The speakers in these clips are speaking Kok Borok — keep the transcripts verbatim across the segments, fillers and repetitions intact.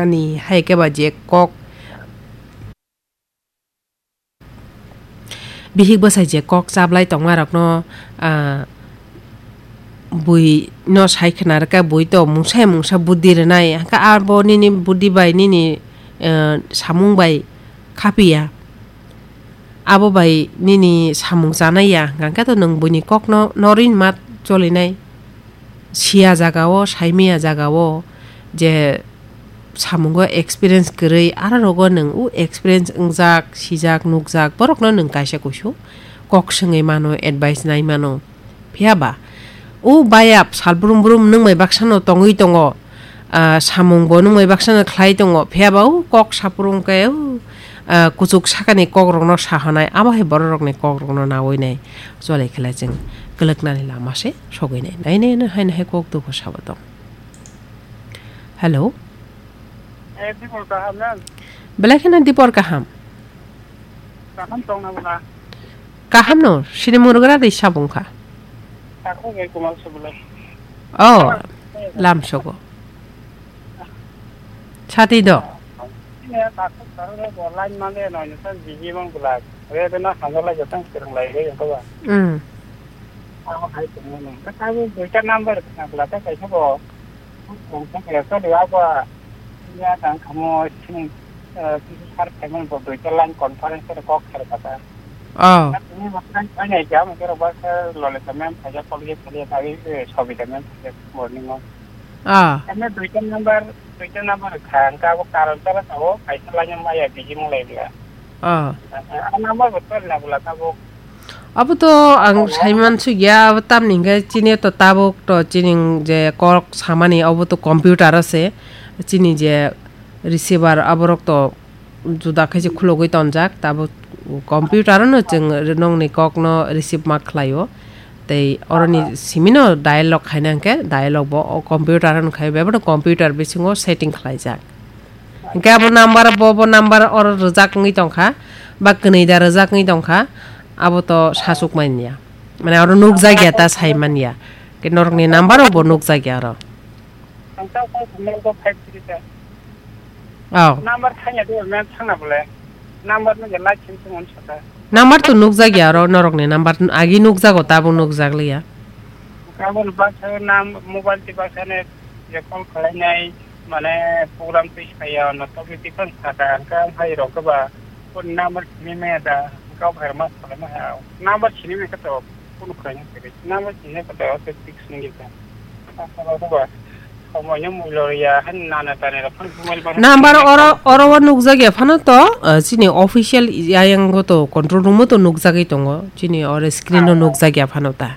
Ani hai khe ba je kok bihik bwsai je kok chablai tongma rokno, ah, bui no sai khna rwkha, bui to mungsa mungsa buddhi rwnai, hwnkhe abo nini buddhi bai nini, eh, samung bai khapiya. Abo bai nini samung chanai ya, hwnkhe to nwng buini kokno norwin ma cholinai. Siya jagao, saimiya jagao je samungo experience kwrwi, aro rogo nwng o experience wngjak, sijak, nukjak, borokno nwng kaisa kuisu kok swngwi mano, advice nai mano. Phiya ba, o bayap sal brum brum nwng bai baksa no tongwi tongo, ah, samung bo nwng bai baksa no khlai tongo, phiya ba o kok saprung khe, o, ah, kuchuk sakani kok rok no sa hanai, abo hai borok rok ni kok rok no nawi nai, chole khlai chwng kwlwk nani lama se sogwi nai, nai nai no hai no hai kok dukhu sabo tong. Hello. Eh, Dipor kaham na? Belai kheno Dipor kaham. Kaham tong na bwla? Kaham no, sini murugra de sabung kha. Ako ngai kumal se bwla. Oh, lam sogo. Chati do. Ne takuk takuk bo line male no ni san biji mang bwla. Re de na hamla jatang serang lai re ko ba. Hmm. Ako hai tong no. Ka ta bu duita number na bwla ta kai ko. Kung kung ya ka liya ba. Ya tang kamo sini, eh, sini har payment bo dui ta line conference ko kok har kata. Oh. Ini makan banyak jam kira ba sa lole samen saja kol ye kali tadi, eh, sobi samen saja morning mo. Ah. Kami dui ta number, dui ta number khan ka bo karon tara tao kaisa line ma ya biji mo lai dia. Ah. Ah, number bo tol na bula ka bo Abo to ang saiman sugya, abo tamni hingke chini to tabuk to chini je kok samani abo to computer o se, chini je receiver aborok to juda khe se khulogwi tonjak, tabuk computer o no chwng nongni kok no receive ma khlai o, tei oroni simi no dialogue khaina hingke dialogue bo o computer o no khai, bebak no computer bisingo setting khlaijak. Hingke abo number, bo, bo number oro rwjak wngwi tongkha, ba kwnwi da rwjak wngwi tongkha, abo to sasuk manya. Mane oro nukjak ya ta sai manya. Ke norokni number rok bo nukjak ya oro. Ang ta phone number ko five three ta. Oh. Number thanya do men thangna bole. Number no je light sim sim on sata. Number to nukjak ya oro norokni number agi nukjago tabuk nukjak liya. Abo ni baksa nam mobile ti baksa ne je call khlainai, mane program twi saya no topic ti phang saka, hwnkhe ang hai rok ba phone number sini me da, hwnkhe ang hai ma salai ma ha. Number sini me kato phone khlaina kiri. Number sini kato se fix ni gita. Asa ba ba. Somoino mulo ya han nana tane ra phone mobile ba. Number oro, oro o nukjak ya phano to, eh, chini official ayang go to control room o to nukjagwi tongo. Chini oro screen o nukjak ya phano ta.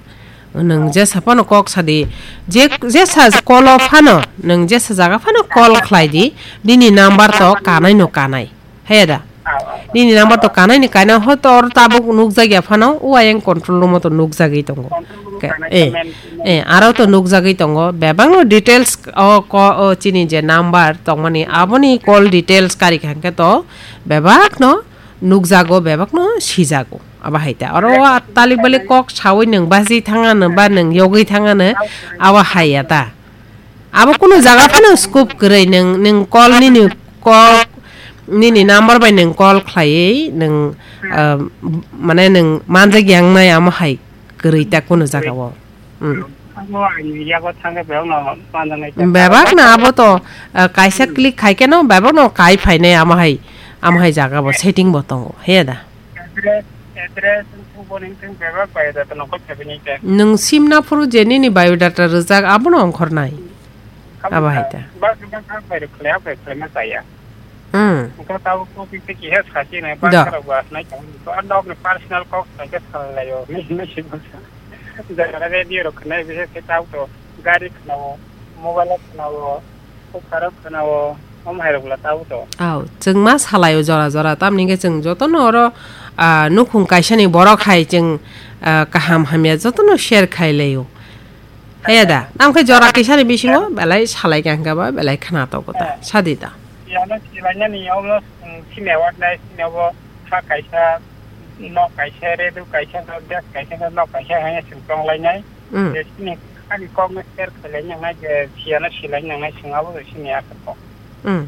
Nwng jesa phano kok sadi, je, jesa call o phano, nwng jesa jaga phano call khlai di, nini number to kanai no kanai. He da? Nini number to kanai ni kainai, hoito oro tabuk nukjak ya phano, o ayang control room o to nukjagwi tongo. Control room kanai eh, eh, aro to nukjagwi tongo, bebak no details o ko, o chini je number tongmani, aboni call details kari kha hwnkhe to bebak no nukjago, bebak no sijago. Abo hai ta. Oro o talik balik kok sawi nwng basi thangano ba nwng yogwi thangano, abo hai ya ta. Abo kunu jaga phano scope kwrwi nwng, nwng call nini kok, nini number bai nwng call khlaiwi nwng, ah, mane nwng manjak yang nai amo hai kwrwi ta kunu jaga o. Hmm. Abo ang yago thangkhe bebak no manjaknai khe. Bebak no abo to, ah, kaisa click khai khe no bebak no kai phainai amo hai, amo hai jaga bo setting bo tongo, he da? Address, address, wngkhe bo nini thang bebak biodata no kok khaibini khe. Nwng simna phuru je nini biodata rwjak abono ongkhornai. Abo hai ta. Bak bak bak bai rwkhlai, abo bai khlaima chaya. Hmm. Wngkha tabuk topic tei kiha sasi nai, da. Bangsa rok bo asnai tong. Abo nok ni personal kok sai khe salai laio. Ni, ni si bangsa. Jara radio rok khwnai, bises khe tabuk to gari khwnao, mobile o khwnao, kok karo khwnao, omo hai rok bwla tabuk to. Au, chwng ma salai o jora jora, tamni hwnkhe chwng jotono oro, ah, nukhung kaisa ni borok hai chwng, ah, kaham hamya jotono share khai laio. Haya da, tamo khe jora kisa ni bisingo belai salai kha hwnkhe ba belai khna tongo ta. Sadi da. Yano silainani omo, mm, sini award nai, sini obo sa kaisa, nok kaisa, redu kaisa, gas kaisa, nok kaisa hanya sing tong lainai. Mm. Je sini ani kok no share khlai nang nai, je siyano silai nang nai, sing abo sini aswk kok. Mm.